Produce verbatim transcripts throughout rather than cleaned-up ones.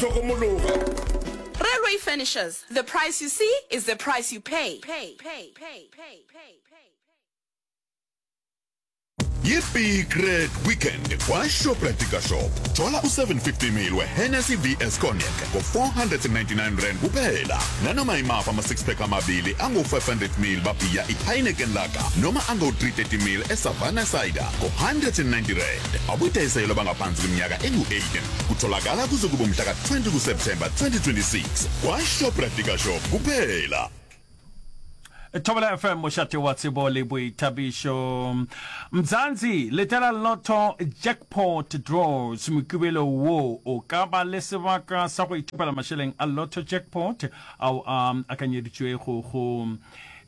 Hlokomologa. Railway Furnishers, the price you see is the price you pay. Pay, pay, pay, pay, pay, pay. Yi-Big Red Weekend kwaShoprite Shop. Thola u-seven fifty ml we-Hennessy V S Cognac ngo-four hundred and ninety-nine rand kuphela. Nanoma imaphi ama-six pack amabili angu-five hundred ml babhiya i-Heineken Lager noma angu-three thirty ml e-Savannah Cider ngo-hundred and ninety rand. Abudayiselwa abangaphansi kweminyaka engu-eighteen. Kutholakala kuze kube umhla ka-twenty kuSeptemba twenty twenty-six kwaShoprite Shop kuphela. Thobela F M, mošate wa tsebo le boithabišo. Mzansi, letela Lotto Jackpot Draws. Mokibelo wo o ka ba le sebaka sa go ithopela mašeleng a Lotto Jackpot ao a akanyeditšwego go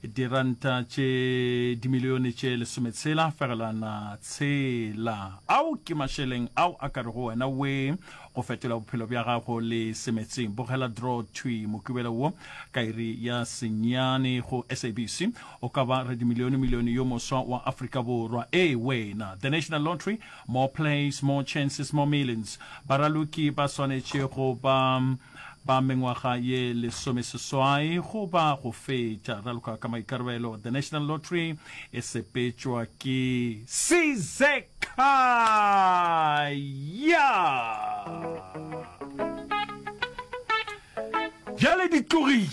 diranta tše dimilione tše lesometshela fegelwana tshela. Ao ke mašeleng ao a ka rego wena we go fetola bophelo bja gago le semetseng. Bogela draw thwi Mokibelo wo ka iri ya senyane go S A B C. O ka ba radimilione-milione yo moswa wa Afrika Borwa. Ee wena! The National Lottery, more plays, more chances, more millions. Baraloki ba swanetše go ba ba mengwaga ye lesomeseswai goba go feta. Raloka ka maikarabelo. The National Lottery e sepetšwa ke Sizekhaya. Bjale di tlogile.